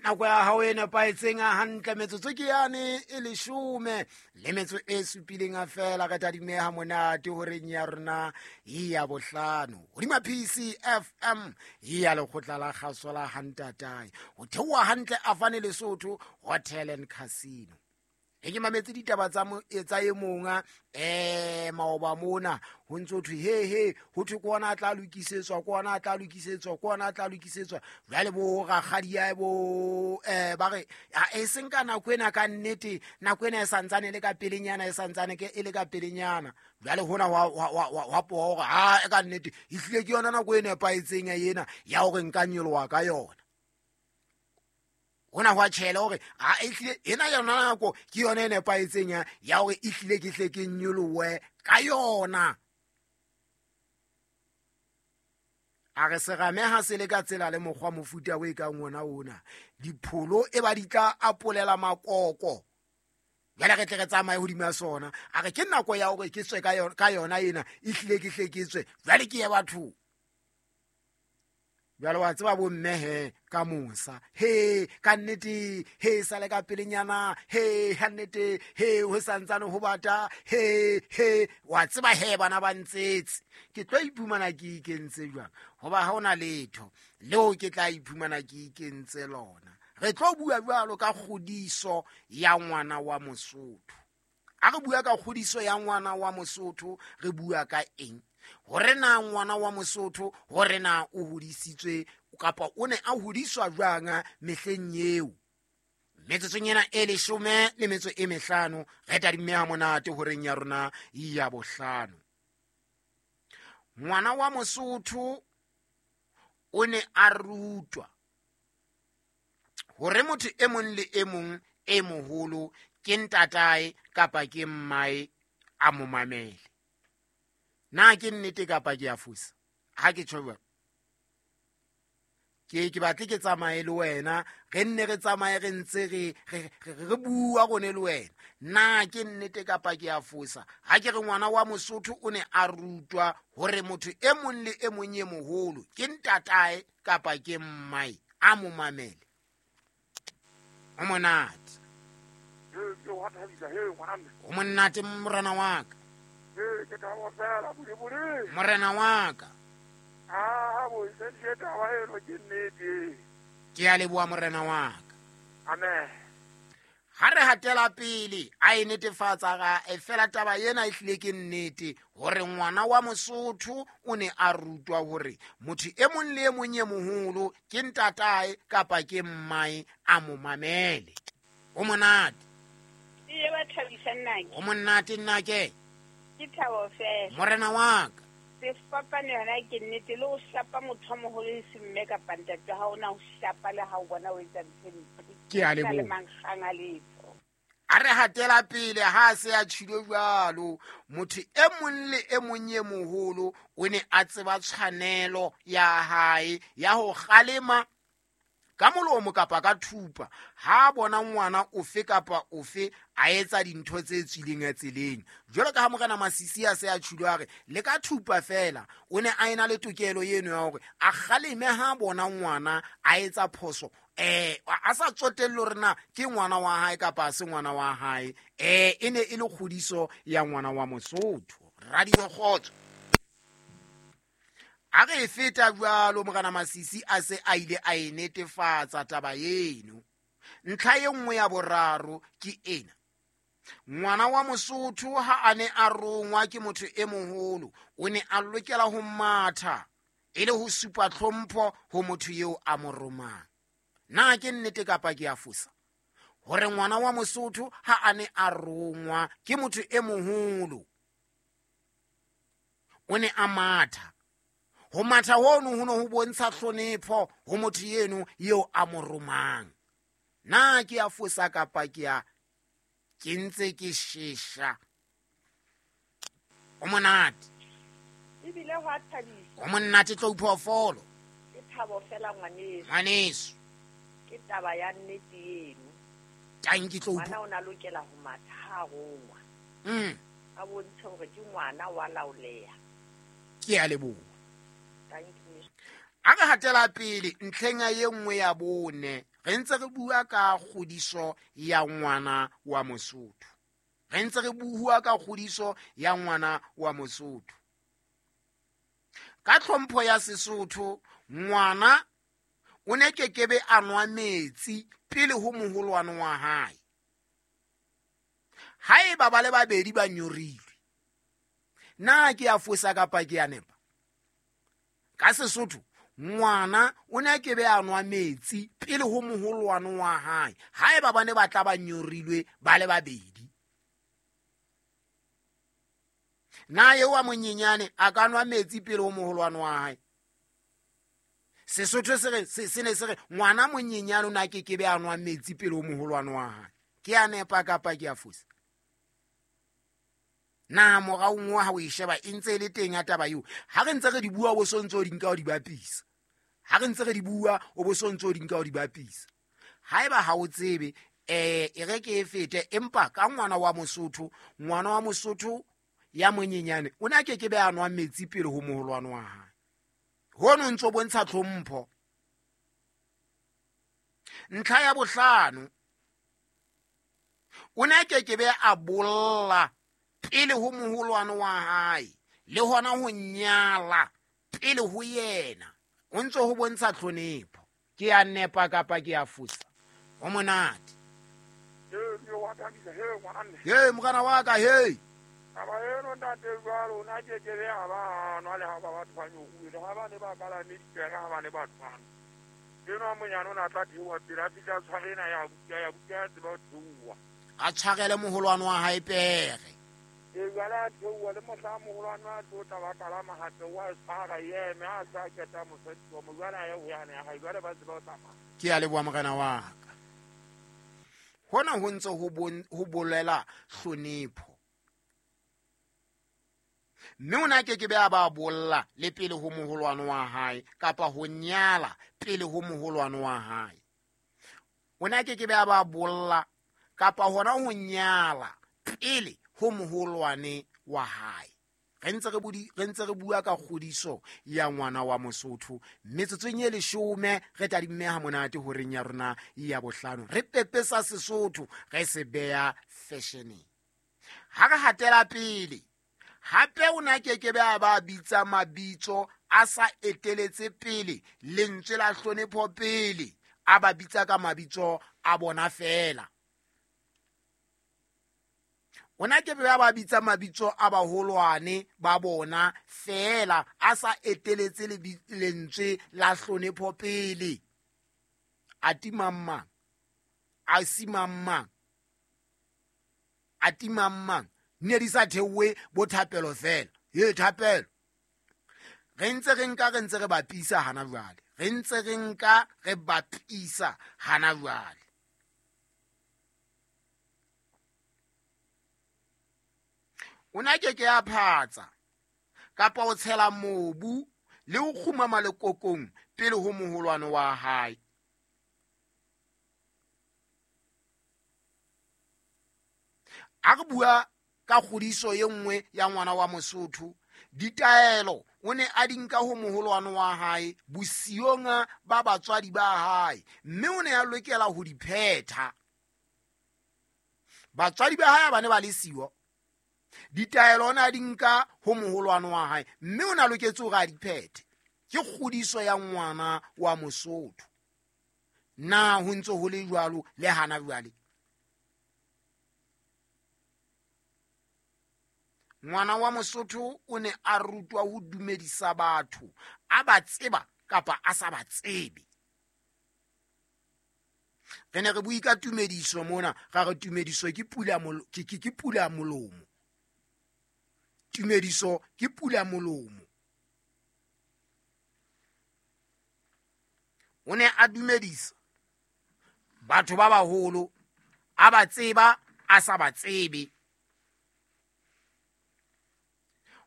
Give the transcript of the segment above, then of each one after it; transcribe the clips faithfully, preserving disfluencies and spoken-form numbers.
Nako ya hao e nepahetseng hantle, metsotso ke yane e leshome le metso e supileng feela. Re tadimeha monate horeng ya rona ya bohlano hodima P C F M ya lekgotla la kgaso la Hantatae, ho theoha hantle Afane Lesotho Hotel and Casino. E ke mametse ditaba tsa mo tsa e monga eh maoba mona ho ntso thwe he he ho thwe ke ona a tla lokisetswa, ke ona a tla lokisetswa, ke ona a tla lokisetswa. Jwale bo rakgadi ya bo eh ba re e seng ka nako ena, ka nnete nako ena e santsane le ka pelenyana, e santsane ke e le ka pelenyana. Jwale hona wa wa wa poa hore ha e ka nnete e hlile ke yona nako e nepahetseng ya ena ya hore nka nyoloha ka yona. Hona hwa tjhela hore a e hlile ena yona nako ke yona e nepahetseng ya ya hore e hlile ke hle ke nyolohe ka yona. A re serame ha se le ka tsela le mokgwa mofuta o e kang ona ona, dipholo e ba di tla apolela makoko. Jwale re tle re tsamaye hodima sona. A re ke nako ya hore ke tswe ka yona, ka yona ena e hlile ke hle ke tswe. Jwale ke ye bathong. Jwale wa tseba bo mme he ka mosa, he ka nnete, he sale ka pelenyana, he ha nnete, he ho santsane ho bata, he he wa tseba he bana ba ntsetse. Ke tlo iphumana ke ikentse jwang? Hoba ha hona letho leo ke tla iphumana ke ikentse lona. Re tlo bua jwalo ka kgodiso ya ngwana wa Mosotho. A re bua ka kgodiso ya ngwana wa Mosotho, re bua ka eng? Hore na ngwana wa Mosotho hore na o hodisitswe kapa o ne a hodiswa jwang mehleng eo. Metsotsong ena e leshome le metso e mehlano re tadimme ha monate horeng ya rona ya bohlano. Ngwana wa Mosotho o ne a rutwa hore motho e mong le e mong e moholo ke ntatae kapa ke mmae a mo mamele. Na ke nnete kapa ke a fosa? Ha ke tjho jwalo, ke ke batle ke tsamaye le wena, re nne re tsamaye re ntse re re bua rone le wena. Na ke nnete kapa ke a fosa? Ha ke re ngwana wa Mosotho o ne a rutwa hore motho e mong le e mong e moholo ke ntatae kapa ke mmae a mo mamele. O monate. O monate morena wa ka. Morena wa ka. Ke a leboha morena wa ka. Amen. Ha re hatela pele a e netefatsa ga e fela taba ena e hlile ke nnete hore ngwana wa Mosotho o ne a rutwa hore motho e mong le e mong e moholo ke ntatae kapa ke mmae a mo mamele. O monate. E ba thabisa nnake. O monate nnake. Ke thabo fela. Morena wa ka. Sefapano yona ke nnete, le ho shapa motho a moholo e se mme kapa ntate, ha ona ho shapa le ha o bona o etsa ntho e mpe. Ke a leboha. Le mankgang a letho. A re hatela pele ha se a tjhilo jwalo, motho e mong le e mong e moholo o ne a tseba tshwanelo ya hae ya ho kgalema ka molomo kapa ka thupa ha bona ngwana ofe kapa ofe a etsa dintho tse tswileng tseleng. Jwalo ka ha morena Masisi a se a tjhilo a re le ka thupa fela, o ne a ena le tokelo eno ya hore a kgaleme ha bona ngwana a etsa phoso, eh a sa tsotelle hore na ke ngwana wa hae kapa se ngwana wa hae. Eh e ne e le kgodiso ya ngwana wa Mosotho. Radio Kgotso. A re feta jwalo morena Masisi a se a ile a e netefatsa taba eno. Ntlha e nngwe ya boraro ke ena. Ngwana wa Mosotho ha a ne a rongwa ke motho e moholo, o ne a lokela ho matha e le ho supa tlhompho ho motho eo a mo romang. Na ke nnete kapa ke a fosa? Hore ngwana wa Mosotho ha a ne a rongwa ke motho e moholo, o ne a matha. Ho matha hono ho no ho bontsha hlonepho ho motho eno eo a mo romang. Na ke a fosa kapa ke a ke ntse ke shesha? O monate. Ebile ho a thabisa. O monate tlo phoofolo. Ke thabo fela ngwaneso. Ngwaneso. Ke taba ya nnete eno. Tanki tlo ngwana o na lokela ho matha ha rongwa. Mm. A bontshe hore ke ngwana wa laoleha. Ke a leboha. A re hatela pele ntlheng ya e nngwe ya bone. Re ntse re bua ka kgodiso ya ngwana wa Mosotho. Re ntse re bua ka kgodiso ya ngwana wa Mosotho. Ka tlhompho ya Sesotho, ngwana o ne kekebe a nwa metsi pele ho moholwane wa hae. Haeba ba le babedi ba nyorilwe, na ke a fosa kapa ke a nepa? Ka Sesotho, ngwana o ne kebe a nwa metsi pele ho moholwane wa hae haeba ba ne ba tla ba nyorilwe ba le babedi. Na eo wa monyenyane a ka nwa metsi pele ho moholwane wa hae? Sesotho se re se ne se re ngwana monyenyane o na ke kebe a nwa metsi pele ho moholwane wa hae. Ke a nepa kapa ke a fosa? Na moraong wa ha o e sheba e ntse e le teng ya taba eo. Ha re ntse re di bua bo sontso di nka o di bapisa. Ha re ntse re di bua o bo sontso di nka o di bapisa. Haeba ha o tsebe eh e re ke e fete, empa ka ngwana wa Mosotho, ngwana wa Mosotho ya monyenyane o na ke ke be a nwa metsi pele ho moholwane wa hae. Hono ntso bontsha tlhompho. Ntlha ya bohlano, o na ke ke be a bolla pele ho moholwane wa hae le hona ho nyala pele ho yena. O ntso ho bontsha tlhonepho. Ke a nepa kapa ke a fosa? Ho monate. Hey morena wa ka, hey. Taba eno ntate jwalo o na ke ke be a ba nwa le ha ba batho ba nyoruile, ha ba ne ba palame dipere, ha ba ne ba tshwana. Eno a monyane o ne a tla theoha pele a fihla a tshware ena ya buka ya buka ya tseba ho theoha. A tshwarele moholwane wa hae pere. E jwale a theoha le mohla moholwane a tlo tla ba kalama hape wa tshwara eme a sa keta mosadi wa mo jwale a ye ho yane ya hae jwale ba tseba ho tsamaya. Ke a leboha morena wa ka. Hona ho ntse ho bolela hlonepho. Mme o na ke ke be a ba bolla le pele ho moholwane wa hae kapa ho nyala pele ho moholwane wa hae. O na ke ke be a ba bolla kapa hona ho nyala pele ho moholwane wa hae. Re ntse re budi re ntse re bua ka kgodiso ya ngwana wa Mosotho. Metsotsong e leshome re tadimme ha monate horeng ya rona ya bohlano. Re pepesa Sesotho re se beya fashioneng. Ha re hatela pele, hape o na ke ke be a ba bitsa mabitso a sa eteletse pele lentswe la hlonepho pele, a ba bitsa ka mabitso a bona fela. O na ke be a ba bitsa mabitso a baholwane ba bona fela, a sa eteletse lentswe la hlonepho pele. A timang mang, a simang mang, a timang mang. Ne di sa theowe bo thapelo fela. Ye thapelo. Re ntse re nka re ntse re bapisa hana jwale. Re ntse re nka re bapisa hana jwale. O na ke ke a phatsa kapa o tshela mobu le ho kgumama lekokong pele ho moholwane wa hae. A re bua ka kgodiso e nngwe ya ngwana wa Mosotho, ditaelo o ne a di nka ho moholwane wa hae bosiong ba batswadi ba hae, mme o ne a lokela ho di phetha. Batswadi ba hae ba ne ba le siyo, ditaelo o ne a di nka ho moholwane wa hae, mme o ne a loketse hore a di phethe. Ke kgodiso ya ngwana wa Mosotho. Na ho ntse ho le jwalo le hana jwale? Ngwana wa Mosotho o ne a rutwa ho dumedisa batho a ba tseba kapa a sa ba tsebe. Re ne re bue ka tumediso mona, ra re tumediso ke pula ke ke pula molomo. Tumediso ke pula molomo. O ne a dumedisa batho ba baholo a ba tseba a sa ba tsebe.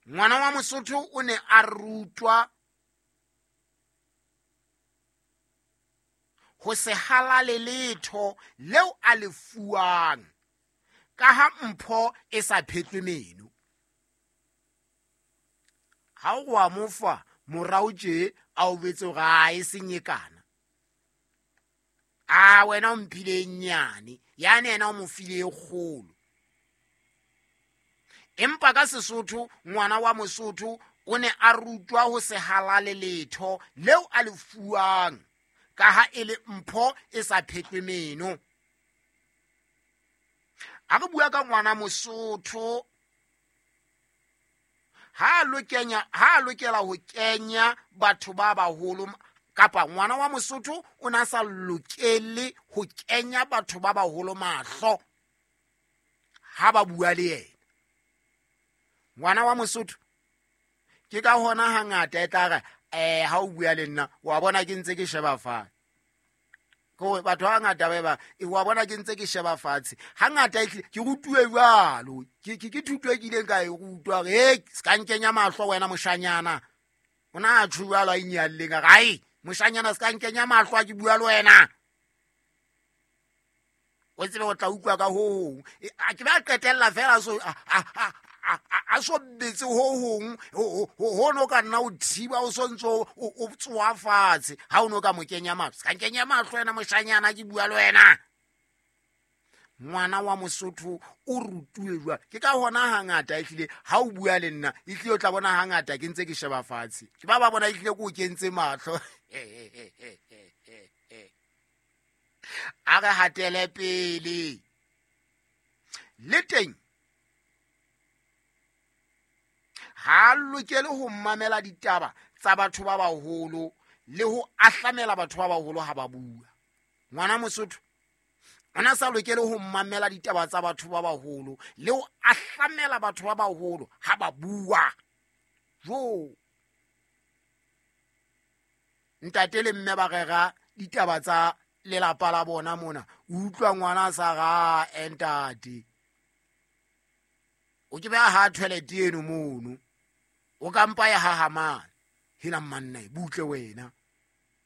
Ngwana wa Mosotho o ne a rutwa ho se halale letho leo a le fuwang, ka ha mpho e sa phetlwe meno. Ha o wa mo fa morao tje a o betse hore a e senyekana. A wena o mphile e nyane, yane yena o mo file e kgolo. Empa ka Sesotho ngwana wa Mosotho o ne a rutwa ho se halale letho leo a le fuwang, ka ha e le mpho e sa phetlwe meno. A re bua ka ngwana Mosotho, ha lokenya ha lokela ho kenya batho ba baholo, kapa ngwana wa Mosotho o na sa lokele ho kenya batho ba baholo mahlo ha ba bua le yena. Ngwana wa Mosotho ke ka hona hangata e tla re eh ha o bua le nna wa bona ke ntse ke sheba fatshe. Ko batho ba ngata ba ba e wa bona ke ntse ke sheba fatshe. Hangata ehlile ke rutuwe jwalo, ke ke ke thuto e kileng ka e rutwa hore he se ka nkenya mahlo wena moshanyana. O na a tjho jwalo a inyalleng a re ai moshanyana se ka nkenya mahlo a ke bua le wena. O tsebe o tla utlwa ka ho hong. Ke ba qetella fela so a a a so betse ho hong ho no ka nna o thiba o sontso o tsoa fatshe ha o no ka mo kenya mahlo. Se ka nkenya mahlo wena moshanyana ke bua le wena. Ngwana wa Mosotho o rutuwe jwalo. Ke ka hona hangata ehlile ha o bua le nna ehlile o tla bona hangata ke ntse ke sheba fatshe. Ke ba ba bona ehlile ke o kentse mahlo. A re hatele pele. Le teng ha lokele ho mamela ditaba tsa batho ba baholo le ho ahlamela batho ba baholo ha ba bua. Ngwana Mosotho ona sa lokele ho mamela ditaba tsa batho ba baholo le ho ahlamela batho ba baholo ha ba bua. Jo ntate le mme ba rera ditaba tsa lelapa la bona mona, o utlwa ngwana sa ga ntate o ke ba ha toilet eno mono o ka mpa ya hahamana hela manna e butle wena.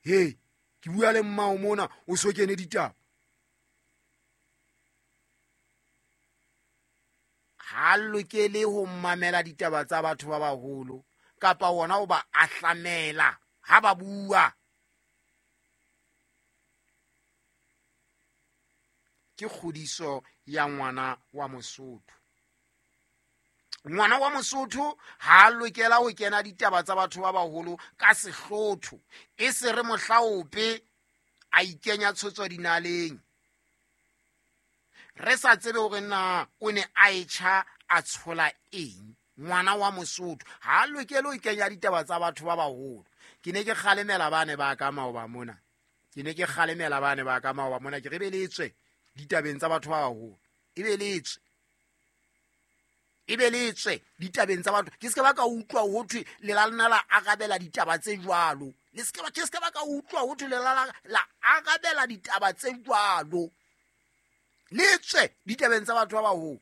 He ke bua le mmao mona o so kene ditaba. Ha lokele ho mamela ditaba tsa batho ba baholo kapa wona o ba ahlamela ha ba bua. Ke kgodiso ya ngwana wa Mosotho. Ngwana wa Mosotho ha lokela ho kena ditaba tsa batho ba baholo ka sehlotho, e se re mohlaope a ikenya tshotso dinaleng. Re sa tsebe hore na o ne a etjha a tshola eng. Ngwana wa Mosotho ha lokela ho kenya ditaba tsa batho ba baholo. Ke ne ke kgalemela bane ba ka maoba mona. Ke ne ke kgalemela bane ba ka maoba mona ke re be le tswe ditabeng tsa batho ba baholo. E be le tswe. E be le tswe ditabeng tsa batho. Ke se ba ka utlwa ho thwe le la lona la arabela ditaba tse jwalo. Le se ba ke se ba ka utlwa ho thwe le la la arabela ditaba tse jwalo. Le tswe ditabeng tsa batho ba baholo.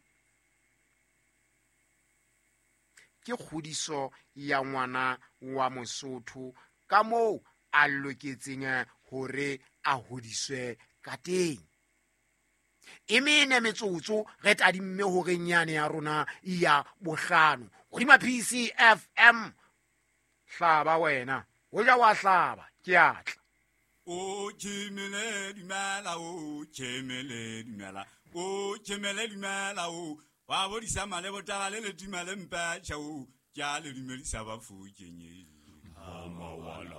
Ke kgodiso ya ngwana wa Mosotho ka moo a loketseng hore a hodiswe ka teng. E mene metsotso re tadimme hore nyane ya rona ya bohlano hodima P C F M. Hlaba wena o ja wa hlaba ke atla. O tjhemele dumela, o tjhemele dumela, o tjhemele dumela, o wa bodisa male botala le le dumele mpa tjha o ke a le dumedisa ba fokeng. Mama wala